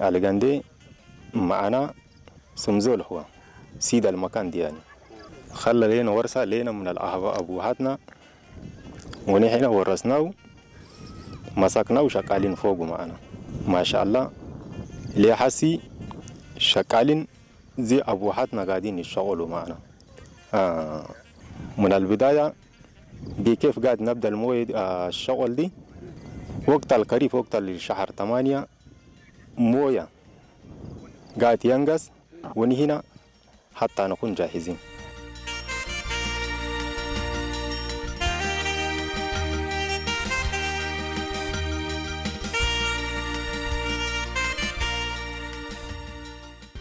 ኣልገንዴ መዓና ስምዞ ልሕዋ ሲዳ ልመካን ዲያኒ ኸለ ሌነ ወርሳ ሌነ ምን ኣልኣህባ ኣቡሃትና ወኒሕና ወረስናው መሳክናው ሸቃሊን ፎጉ መዓና ማሻኣላ ሌሓሲ ሸቃሊን ዚ ኣቡሃትና ጋዲን ይሸቆሉ መዓና ምን ኣልብዳያ ቢኬፍ ጋድ ነብዳ ልሞየ ሸቆል ዲ ወቅት ኣልከሪፍ ወቅት ኣልሸሓር ተማንያ ሞያ ጋት የንገስ ወንሂና ሓታ ንኹን ጃሂዚን።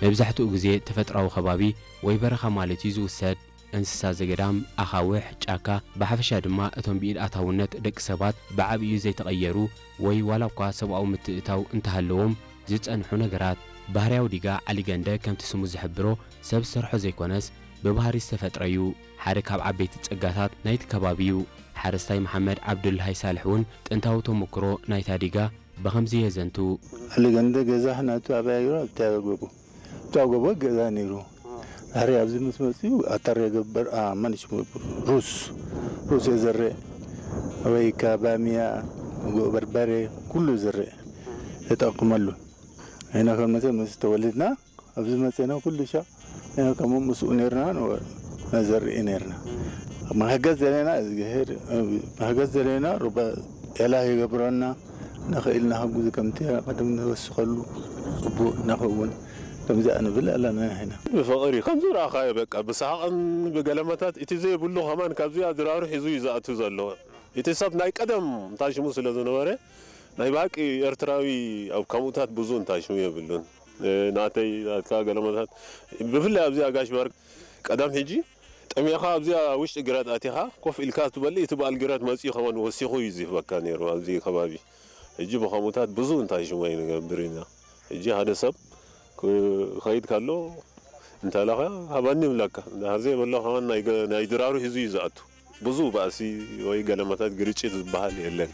መብዛሕትኡ ግዜ ተፈጥራዊ ከባቢ ወይ በረኻ ማለት እዩ ዝውሰድ። እንስሳ ዘገዳም፣ ኣኻውሕ፣ ጫካ፣ ብሓፈሻ ድማ እቶም ብኢድ ኣታውነት ደቂ ሰባት ብዓብዩ ዘይተቐየሩ ወይ ዋላ እኳ ሰብኣዊ ምትእታው እንተሃለዎም ዝጸንሑ ነገራት። ባህርያዊ ዲጋ ዓሊገንደ ከምቲ ስሙ ዝሕብሮ ሰብ ዝሰርሖ ዘይኮነስ ብባህሪ ዝተፈጥረ እዩ። ሓደ ካብ ዓበይቲ ጸጋታት ናይቲ ከባቢ እዩ። ሓረስታይ መሓመድ ዓብዱልሃይ ሳልሕ እውን ጥንታዊ ተሞክሮ ናይታ ዲጋ ብኸምዚ የዘንቱ። ኣሊ ገንደ ገዛ ናቱ ኣባይሮ ኣብታ ጎቦ ኣብታ ጎቦ ገዛ ነይሩ። ድሕሪ ኣብዚ ምስ መፅኡ ኣተር የገብር ማንሽ ሩስ ሩስ የዘርእ ወይ ከዓ ባሚያ ጉዕ በርበሬ ኩሉ ዝርእ ተጠቅመሉ ኢና ከመተ ምስ ተወልድና ኣብዚ መፅና ኩሉ ሻዕ ኢና ከምኡ ምስኡ ነርና ነዘርኢ ነርና መሕገዝ ዘለና እግዚኣብሔር መሕገዝ ዘለና ሩባ ኤላህ ይገብረና ንኽእል ንሓጉዝ ከምቲ ቀደም ንወስኸሉ ፅቡቅ ንኸውን ከምዚኣ ንብል ኣለና ኢና ብፍቕሪ ከምዚ ረኣኻዮ በቃ ብሰሓቕን ብገለመታት እቲ ዘይብሉ ከማን ካብዚኣ ድራሩ ሒዙ እዩ ዝኣቱ ዘሎ እቲ ሰብ ናይ ቀደም እንታይ ሽሙ ስለ ዝነበረ ናይ ብሓቂ ኤርትራዊ ኣብ ከምኡታት ብዙ እንታይ ሽሙ የብሉን ናተይ ናትካ ገለመታት ብፍላይ ኣብዚ ኣጋሽ ባርክ ቀደም ሕጂ ጠሚኻ ኣብዚኣ ውሽጢ ግራት ኣቲኻ ኮፍ ኢልካ ትበልእ እቲ በዓል ግራት መፂኡ ከማን ወሲኹ እዩ ዝህበካ ነይሩ ኣብዚ ከባቢ ሕጂ ብኸምኡታት ብዙ እንታይ ሽሙ ኣይንገብር ኢና ሕጂ ሓደ ሰብ ክኸይድ ካሎ እንተለኻ ሃባኒ ይብለካ እንድሕር ዘይበሎ ከማን ናይ ድራሩ ሒዙ እዩ ዝኣቱ ብዙ ባእሲ ወይ ገለመታት ግርጭት ዝበሃል የለን።